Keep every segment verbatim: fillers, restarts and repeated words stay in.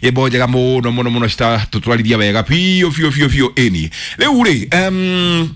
Nyĩmbo njega mũno mũno mũno citatũtwarithia wega biũ biũ biũ biũ. Ĩni rĩu rĩ, um,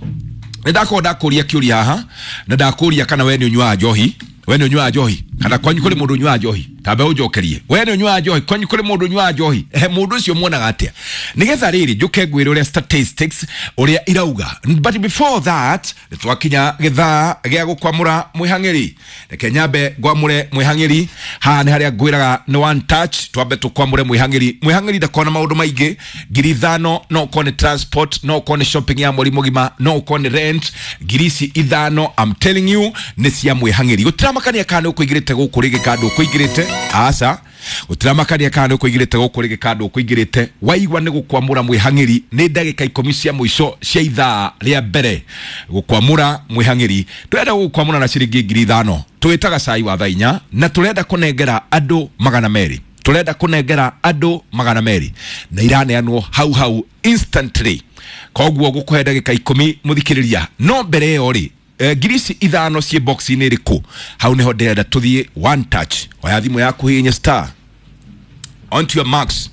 nĩ ndakorwo ndakũria kĩũria haha, na ndakũria kana we nĩ ũnyuaga njohi. We nĩ ũnyuaga njohi, kana kwanyu kũrĩ mũndũ ũnyuaga njohi? Tambe ũnjokerie, we nĩ ũnyuaga njohi? Kwanyu kũrĩ mũndũ ũnyuaga njohi? Ehe, mũndũ ũcio muonaga atĩa? Nĩgetha rĩrĩ njũke ngwĩre ũrĩa statistics ũrĩa irauga. But before that, nĩ twakinya gĩthaa gĩa gũkwamũra mwĩhang'ĩri. Reke nyambe ngwamũre mwĩhang'ĩri. Haha nĩ harĩa ngwĩraga nĩ one touch. Twambe tũkwamũre mwĩhang'ĩri. Mwĩhang'ĩri ndakona maũndũ maingĩ. Ngiri ithano, no ũkorwo nĩ transport, no ũkorwo nĩ shopping ya mweri mũgima, no ũkorwo nĩ rent. Ngiri ici ithano, I'm telling you, nĩ cia mwĩhang'ĩri. Gũtiramakania kana nĩ ũkũingĩrĩte gũkũ rĩngĩ kana ndũkũingĩrĩte. Aca, gũtiramakania kana nĩ ũkũingĩrĩte gũkũ rĩngĩ kana ndũkũingĩrĩte. Waigua nĩ gũkwamũra mwĩhang'ĩri, nĩ ndagĩka ikũmi cia mũico cia ithaa rĩa mbere gũkwamũra mwĩhang'ĩri. Tũrenda gũkwamũra na ciringi ngiri ithano. Twĩtaga cai wa thaa inya, na tũrenda kũnengera andũ magana merĩ. Tũrenda kũnengera andũ magana merĩ, na iraneanwo hau hau instantly. Koguo gũkũhe ndagĩka ikũmi, mũthikĩrĩria. No mbere ĩyo rĩ, eh, ngiri ici ithano ciĩ box-inĩ ĩrĩkũ? Hau nĩho ndĩrenda tũthiĩ one touch. Oya thimũ yaku, hihinya star. Onto your marks,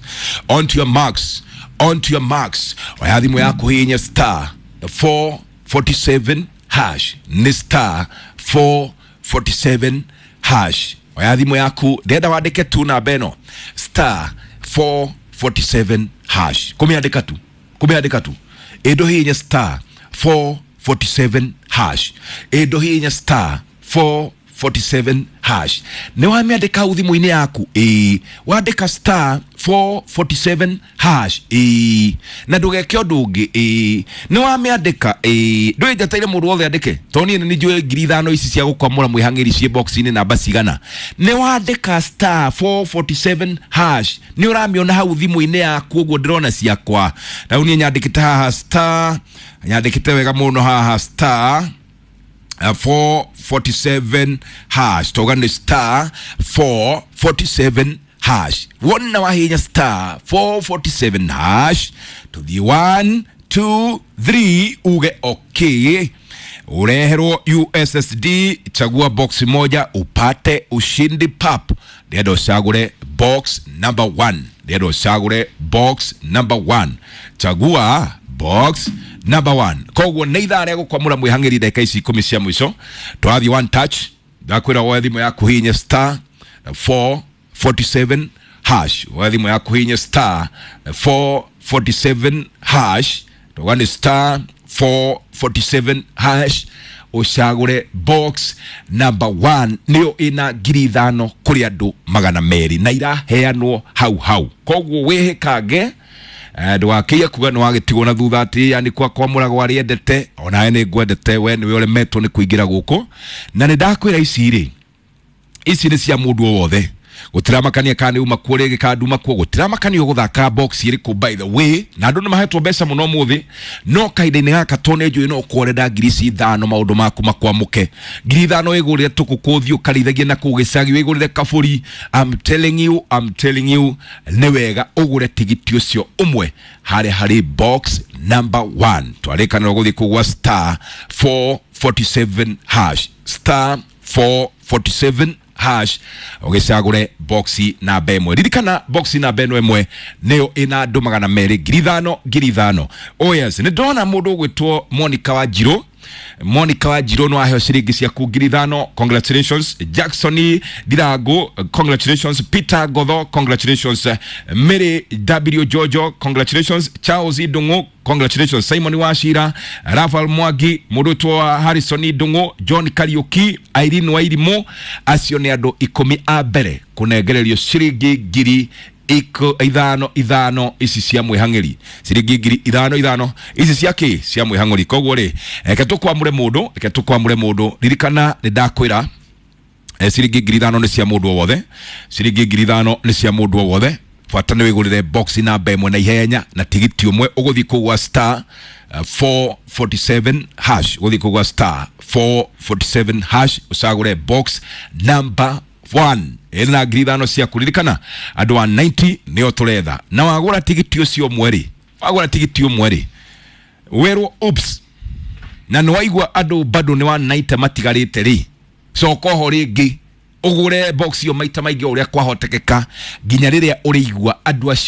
onto your marks, onto your marks. Oya thimũ yaku, hihinya star four forty-seven hash. Nĩ star four forty-seven hash. Oya thimũ yaku, ndĩrenda wandĩke tu namba ĩno, star four forty-seven hash. Kũmĩandĩka tu, kũmĩandĩka tu. Ĩndũ hihinya star four forty-seven hash. Ĩndũ hihinya star four forty-seven hash. Nĩ wamĩandĩka hau thimũ-inĩ yaku? Ĩĩ. Wandĩka star four forty-seven hash? Ĩĩ. Na ndũgeke ũndũ ũngĩ? Ĩĩ. Nĩ wamĩandĩka? Ĩĩ. Ndũĩ njeteire mũndũ wothe andĩke, tondũ niĩ nĩ njũĩ ngiri ithano ici cia gũkwamũra mwĩhang'ĩri ciĩ box-inĩ namba cigana. Nĩ wandĩka star four forty-seven hash? Nĩ ũramĩona hau thimũ-inĩ yaku ũguo ndĩrona ciakwa? Rĩu niĩ nyandĩkĩte haha star, nyandĩkĩte wega mũno haha star uh, four forty-seven hash. Toga nĩ star four forty-seven hash. Wona wahinya star four forty-seven hash, tuthiĩ one two three, uge okay, ureherwo U S S D, chagua box moja upate ushindi pap. Ndĩrenda ũcagũre box number one. Ndĩrenda ũcagũre box number one. Chagua box number one. Koguo nĩ ithaa rĩa gũkwamũra mwĩhang'ĩri. Ndagĩka ici ikũmi cia mũico twathiĩ one touch. Ndakwĩra woe thimũ yaku, hihinya star four forty-seven hash. Woe thimũ yaku, hihinya star four forty-seven hash. Toga nĩ star four forty-seven hash, ũcagũre box number one. Nĩyo ĩna ngiri ithano kũrĩ andũ magana merĩ, na iraheanwo hau hau. Koguo wĩhĩkange, Eh, ndũgakĩige kuga nĩ wagĩtigwo na thutha, atĩ yani kwa kwamũragwo arĩendete. Onawe nĩ ngwendete, we nĩwe ũremetwo nĩ kũingĩra gũkũ. Na nĩ ndakwĩra ici rĩ, ici nĩ cia mũndũ o wothe. Gũtiramakania kana nĩ uma kuo rĩngĩ kana nduma kuo, gũtiramakania ũgũthaka box ĩrĩkũ. By the way, na andũ nĩ mahetwo mbeca mũno ũmũthĩ, no kahinda-inĩ gaka to nĩ njũĩ no ũkorwo ngiri ici ithano maũndũ maku makwamũke. Ngiri ithano wĩgũrĩre tũkũkũ, ũthiĩ ũkarĩithagie na kũu gĩcagi, wĩgũrĩre kabũri. I'm telling you, I'm telling you, nĩ wega ũgũre tigiti ũcio ũmwe harĩa harĩ box number one. Twarĩkanĩrwo gũthiĩ kũgwa star four forty-seven hash, star four forty-seven hash, ũgĩcagũre boxi namba ĩmwe. Ririkana, boxi namba ĩno ĩmwe nĩyo ĩna andũ magana merĩ, ngiri ithano, ngiri ithano. Oh yes, nĩ ndona mũndũ ũgwĩtwo Monica Wanjirũ. Monica Wanjirũ, nĩ waheo ciringi ciaku ngiri ithano. Congratulations. Jackson Ndirangu, congratulations. Peter Gotho, congratulations. Mary W Jojo, congratulations. Charles Ndung'u, congratulations. Simon Wachira, Rafael Mwangi, mũndũ ũtwo Harrison Ndung'u, John Kariuki, Irene Wairimu, acio nĩ andũ ikũmi a mbere kũnengererio ciringi ngiri iko ithano ithano ici cia mwĩhang'ĩri. Ciringi ngiri ithano ithano ici cia kĩ? Cia mwĩhang'ũri. Koguo rĩ, reke tũkwamũre mũndũ, reke tũkwamũre mũndũ. Ririkana nĩ ndakwĩra, eh, ciringi ngiri ithano nĩ cia mũndũ o wothe. Ciringi ngiri ithano nĩ cia mũndũ o wothe. Bata nĩ wĩgũrĩre box namba ĩmwe na ihenya na tigiti ũmwe. Ũgũthiĩ kũu gwa star uh, four forty-seven hash. Ũgũthiĩ kũu gwa star four forty-seven hash, ũcagũre box number one ĩna ngiri ithano ciaku. Ririkana, andũ a ninety nĩo tũretha. Na wagũra tigiti ũcio ũmwe rĩ, wagũra tigiti ũmwe rĩ, werwo oops, na nĩ waigua andũ bado nĩ wa ninety matigarĩte rĩ, coka oho rĩngĩ. Ũgũre box ĩyo maita maingĩ o ũrĩa kwahotekeka, nginya rĩrĩa ũrĩigua andũ acio.